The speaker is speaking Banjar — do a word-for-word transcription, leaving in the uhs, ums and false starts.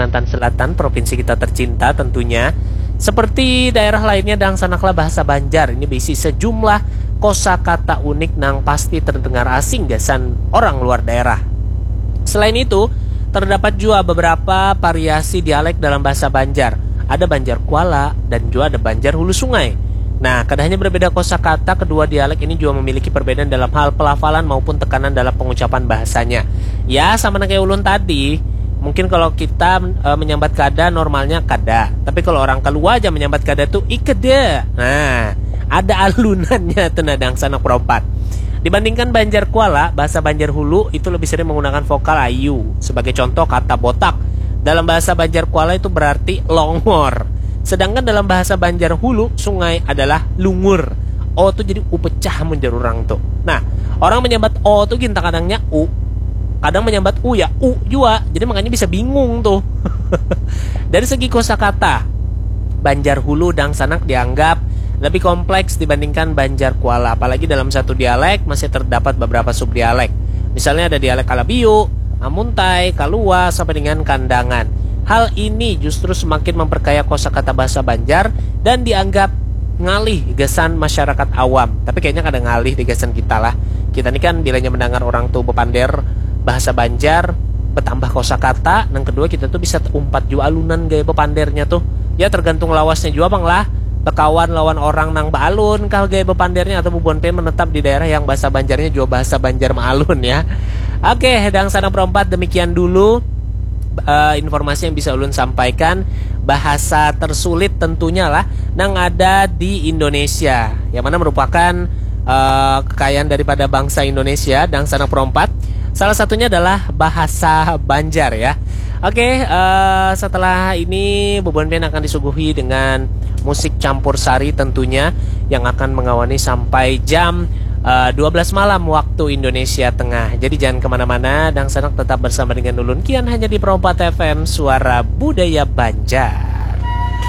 Kalimantan Selatan, provinsi kita tercinta tentunya. Seperti daerah lainnya, dangsanaklah bahasa Banjar ini berisi sejumlah kosakata unik nang pasti terdengar asing gasan orang luar daerah. Selain itu, terdapat juga beberapa variasi dialek dalam bahasa Banjar. Ada Banjar Kuala dan juga ada Banjar Hulu Sungai. Nah, kada hanya berbeda kosakata, kedua dialek ini juga memiliki perbedaan dalam hal pelafalan maupun tekanan dalam pengucapan bahasanya. Ya, sama nang kayak ulun tadi. Mungkin kalau kita e, menyambat kada, normalnya kada. Tapi kalau orang kalua aja menyambat kada tuh ikeda. Nah, ada alunannya tuh, nah, dangsanak perompat. Dibandingkan Banjar Kuala, bahasa Banjar Hulu itu lebih sering menggunakan vokal ayu. Sebagai contoh, kata botak dalam bahasa Banjar Kuala itu berarti longor. Sedangkan dalam bahasa Banjar Hulu, sungai adalah lungur. O tuh jadi u pecah mun jar urang tuh. Nah, orang menyambat o tuh gin, kadangnya u, kadang menyambat u ya u jua. Jadi makanya bisa bingung tuh. Dari segi kosakata, Banjar Hulu dangsanak dianggap lebih kompleks dibandingkan Banjar Kuala. Apalagi dalam satu dialek masih terdapat beberapa subdialek. Misalnya ada dialek Kalabiu, Amuntai, Kalua, sampai dengan Kandangan. Hal ini justru semakin memperkaya kosakata bahasa Banjar dan dianggap ngalih gasan masyarakat awam. Tapi kayaknya kada ngalih di gasan kita lah. Kita ni kan bilanya mendengar orang tuh bepander bahasa Banjar, bertambah kosakata, nang kedua kita tuh bisa umpat jua alunan gaya bepandernya tuh. Ya, tergantung lawasnya jua pang lah. Bekawan lawan orang nang baalun kah gaya bepandernya, atau bubuhan pe menetap di daerah yang bahasa Banjarnya jua bahasa Banjar maalun ya. Oke, dangsanak perompat, demikian dulu eh, informasi yang bisa ulun sampaikan. Bahasa tersulit tentunya lah nang ada di Indonesia, yang mana merupakan eh, kekayaan daripada bangsa Indonesia, dangsanak perompat. Salah satunya adalah bahasa Banjar ya. Oke, eh, setelah ini bubuhan pian akan disuguhi dengan musik campur sari tentunya, yang akan mengawani sampai jam eh, dua belas malam waktu Indonesia Tengah. Jadi jangan kemana-mana, dangsanak tetap bersama dengan ulun Kian hanya di Perompat F M, suara budaya Banjar.